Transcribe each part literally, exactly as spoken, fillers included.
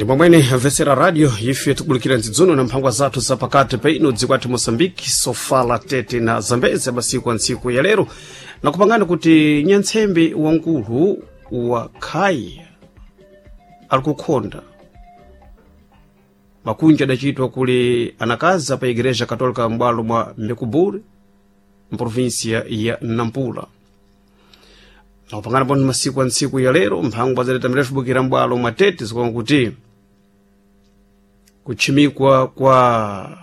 Ndi momwene amvetsera radio ife tikubulikira nzidzuno na mphangwa zathu zapakati pa ino dziko athu Moçambique, Sofala, Tete na Zambezi masiku a ntsiku ya lero, nakupangani kuti nyantsembe wankulu wa Khaya ali kukhonda makunja adachitwa kuli anakazi pa Igreja Katolika m'bwalo mwa Mekuburi mprovinsia ya Nampula. Nakupangana pano masiku a ntsiku ya lero mphangwa zaleta mirefu bukira m'bwalo mwa Tete zikuona kuti kutchimikwa kwa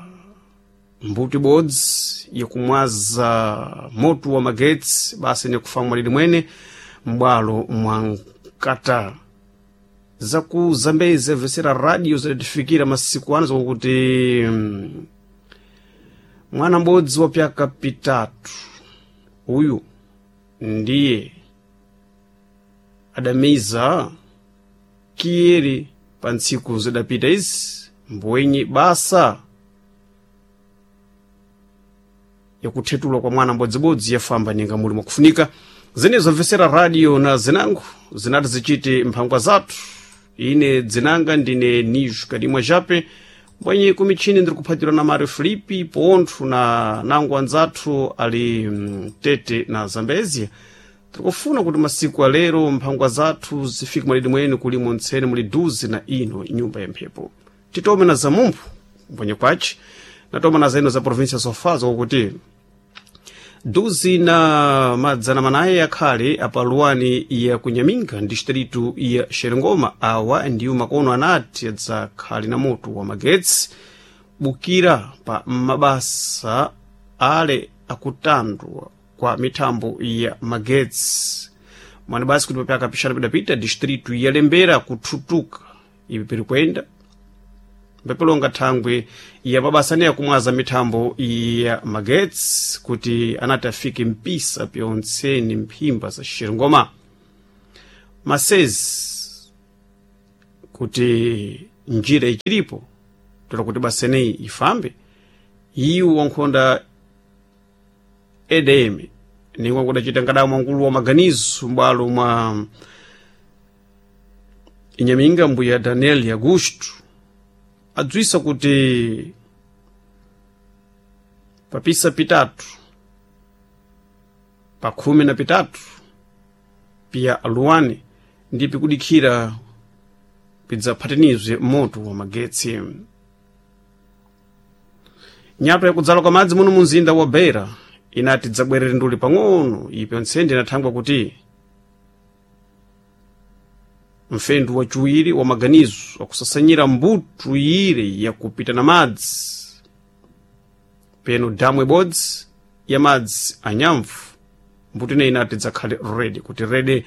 mbuti bodzi yakumwaza moto wa magetsi basi ni kufa mwalili mwene m'bwalo mwa Nkata. Zaku Zambezi vesera radio zidatifikira masiku ano zokuti mm, mwana m'bodzi wa pyaka pitatu uyu ndiye adamiza kiyeri pa ntsiku zidapita izi mbwenye basa yakuthetulwa kwa mwana mbodzibodzi yafamba ninga muli mwakufunika. Zenezo mvesera radio na zinango zinati zichite mphangwa zathu. Ine dzinanga ndine Nijo Kadimwa Jape, mbwenye kumichini ndiri kuphatirwa na Mario Filipi pontho na nango anzathu ali mm, Tete na Zambezia. Tikufuna kuti masiku alero mphangwa zathu zifike mwalidi mwene kulimo ntsene muli duzi na ino nyumba ya mphepo. Titome na zamumphu mbwenye kwaci natoma na zaino za província Sofala zokuti duzi na madzana manayi akhale apaluwani ya kunyaminga distritu ya Xerengoma. Awa ndiwo makono anati adzakhale na moto wa magetsi bukira pa mabasa ale akutandwa kwa mithambo ya magetsi mwana basi kuti papyaka pixana pidapita distritu ya Lembera kuthutuka ipi piri kuyenda mpepelonga thangwe ya mabasa aneya kumwaza mithambo ya magetsi kuti anati afike mpisa pyontseni mphimba za Xerengoma masezi kuti njira ichilipo tola kuti baseneyi ifambe. Iwo wankhonda E D M ningwa kudachita nkadamu wankulu wa maganizo m'bwalo mwa Inyaminga mbuya Daniel Augusto adzwisa kuti papisa pitatu pa khumi na pitatu piya aluwani ndi pikudikhira pidzaphatinizwe moto wa magetsi. Nyato yakudzala kwa madzi muno munzinda wa Beira inati dzabwerere nduli pang'ono ipo ntsende inathangwa kuti mfendu wachiwiri wa maganizo wakusasanyira mbutu ire yakupita na madzi peno damu ibodzi ya madzi anyamvu mbutu ineyi inati dzakhale redi kuti redi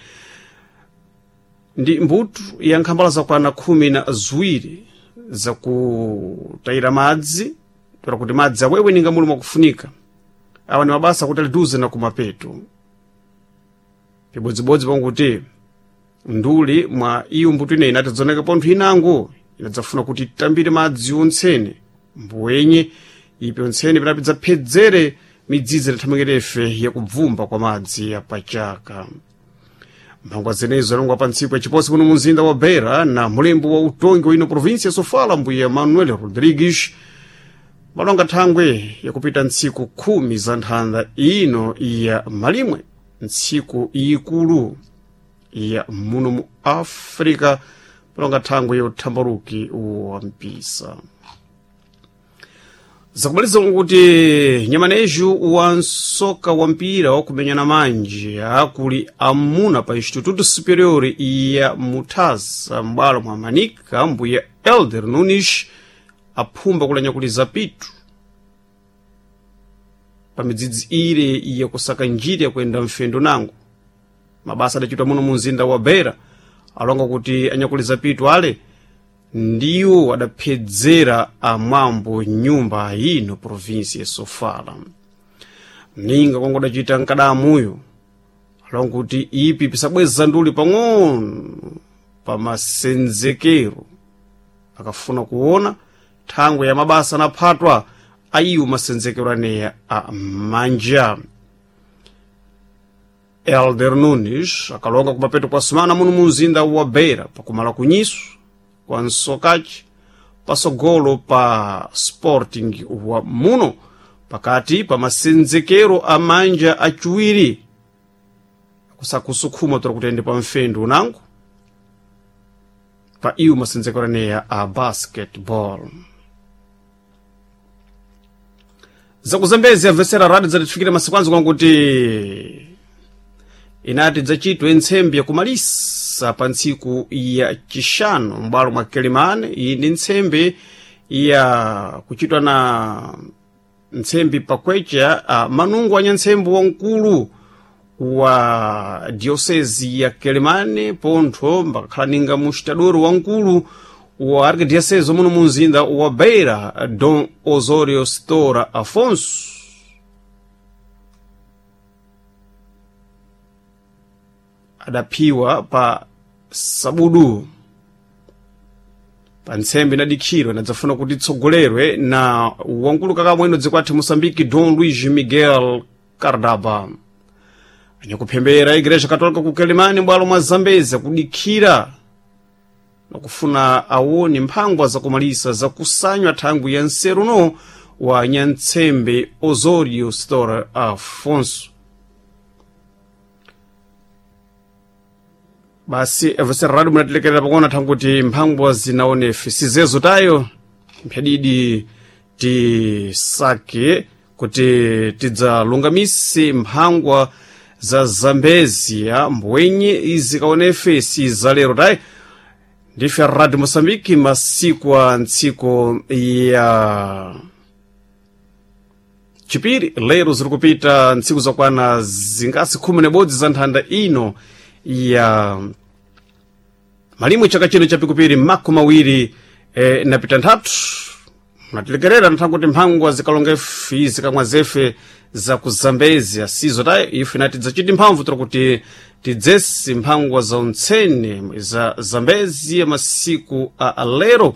ndi mbutu ya nkhambala zakwana khumi na ziwiri zakutayira madzi tola kuti madzi awewe ninga muli mwakufunika. Awa ni mabasa kuti aliduze na kumapeto pibodzibodzi panguti nduli mwa iyo mbuto ineyi inati dzoneka pontho inango inadzafuna kuti itambire madzi ontsene mbuwenye ipi ontsene pinapi dzaphedzere midzidzi idathamangirefe yakubvumba kwa madzi yapachaka. Mphangwa zenezo alongwa pa ntsiku yachiposi kuno munzinda wa Beira na mulembo wa utongi wa ino província ya Sofala mbuya Manuel Rodrigues malonga thangwe yakupita ntsiku khumi za nthanda ino ya malimwe, ntsiku ikulu ya muno mu Africa, palonga thangwe yothambaluki wa mpisa. Zakumaliza kuti nyamaneju wa nsoka wa mpira wakumenyana manje akuli amuna pa Instituto Superior ya Mutasa m'bwalo mwa Manika mbuya Elder Nunes aphumba kulanyakuliza pitu pa midzidzi ire yakusaka njira yakuyenda mfendo nango. Mabasa adachitwa muno mu mzinda wa Beira alonga kuti anyakuliza pitu ale ndiwo adaphedzera amwambo nyumba ino provinsi ya Sofala. Ninga kwangu adachita nkadamuyo alonga kuti ipi pisabweza nduli pang'ono pa masenzekero akafuna kuona thangwe ya mabasa anaphatwa ayiwo masenzekero aneya a manja. Elder Nunes akalonga kumapeto kwa sumana muno mu mzinda wa Beira pakumala kunyiso kwa nsokachi pasogolo pa Sporting wa muno pakati pa masenzekero a manja achiwiri kusakusukhuma tora kutende pa mfendu unango pa iwo masenzekero aneya a basketball. Zakuzambezi amvesera radio zatifikira masiku anzo kwankuti inati dzachitwe ntsembe yakumalisa pa ntsiku ya chixanu m'bwalo mwa Kelimane. Iyi ndi ntsembe ya kuchitwa na ntsembe pakwecha a manungo a nyantsembe wamkulu wa diocese ya Kelimane, pontho mbakakhala ninga mustadoro wamkulu wa arquidiocese muno mu mzinda wa Beira, Dom Osorio Stora Afonso. Adaphiwa pa sabudu pa ntsembe inadikhidwa inadzafuna kuti itsogolerwe na wamkulu kakamweno dziko athu Moçambique, Dom Luís Miguel Cardaba. Anyakuphembera Igreja Católica ku Kelimane m'bwalo mwa Zambezi akudikhira nakufuna awone mphangwa zakumalisa zakusanywa thangwi ya nseruno wa nyantsembe Osorio Stora Afonso. Basi evesera radio munatilekerera pakuona thanguti mphangwa zinaonefe sizezo tayo mphadidi tisake kuti tidzalungamise mphangwa za Zambezia mbwenye izikaonefe si zalero tayi. Ndife Radio Moçambique masiku a ntsiko ya chipiri lero ziri kupita ntsiku zakwana zingasi khumi nebodzi za nthanda ino ya malimwe chaka chino chapikupiri makumi mawiri e, napita nthatu. Munatilekerera nthakuti mphangwa zikalonga ife zikamwa zefe za ku Zambezia sizo tayi ife nati dzachiti mphamvu tora kuti tidzesi mphangwa za untsene za Zambezia masiku a alero.